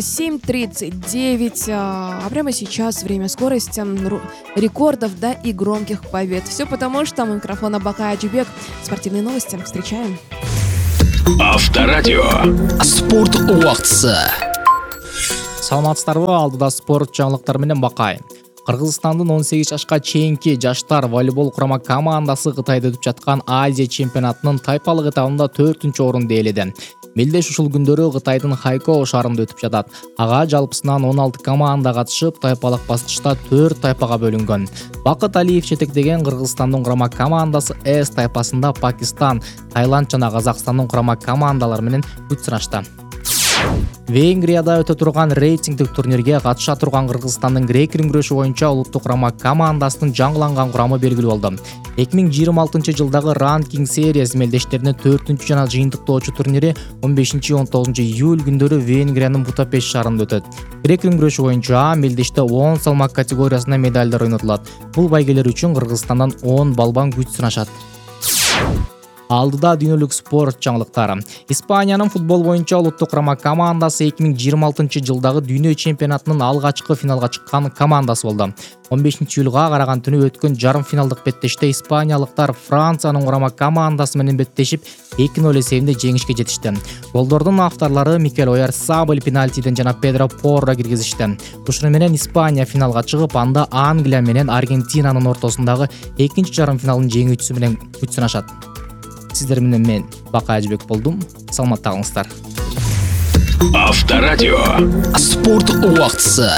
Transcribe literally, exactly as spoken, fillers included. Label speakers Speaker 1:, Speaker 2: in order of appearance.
Speaker 1: семь тридцать девять, а прямо сейчас время скорости, ру- рекордов, да и громких побед. Все потому, что у микрофона Бакай Аджибек. Спортивные новости. Встречаем.
Speaker 2: Авторадио. Спорт убактысы.
Speaker 3: Саламатсыздарбы, алдыда спорт жаңылыктары менен Бакай. Кыргызстандын он сегиз жашка чейинки жаштар волейбол курама командасы Кытайда өтүп жаткан Азия чемпионатынын тайпалык этабында төртүнчү орунду ээледи. Мелдеш ушул күндөрү Кытайдын Хайкоу шаарында өтүп жатат. Ага жалпысынан он алты команда катышып, тайпалык баскычта төрт тайпага бөлүнгөн. Бакыт Алиев жетектеген Кыргызстандын курама командасы С тайпасында Пакистан, Таиланд жана Казакстандын курама командалары менен күч сынашты. Венгрияда өтө турган рейтингдик турнирге катыша турган Кыргызстандын грек-рим күрөшү боюнча улуттук курама командасынын жаңыланган курамы белгилүү болду. эки миң жыйырма алтынчы жылдагы ранкинг сериясы мелдештеринин төртүнчү жана жыйынтыктоочу турнири он бешинчи он тогузунчу июль күндөрү Венгриянын Будапешт шаарында өтөт. Грек-рим күрөшү боюнча мелдеште он салмак категориясында медалдар ойнотулат. Бул байгелер үчүн Кыргызстандан он балбан күч сынашат. Алдыда дүйнөлүк спорт жаңылыктары. Испаниянын футбол боюнча улуттук курама командасы эки миң жыйырма алтынчы жылдагы дүйнө чемпионатынын алгачкы финалга чыккан командасы болду. он бешинчи июлга караган түнү өткөн жарым финалдык беттеште испаниялыктар Франциянын курама командасы менен беттешип эки ноль эсебинде жеңишке жетишти. Голдордун авторлору Микель Оярсабаль пенальтиден жана Педро Порро киргизишти. Ушуну менен Испания финалга чыгып, анда Англия менен Аргентинанын ортосундагы экинчи жарым финалдын жеңүүчүсү менен күч сынашат. Сиздер менен мен Бакай Аджибек болдум. Саламатта калыңыздар.
Speaker 2: Авторадио. Спорт убактысы.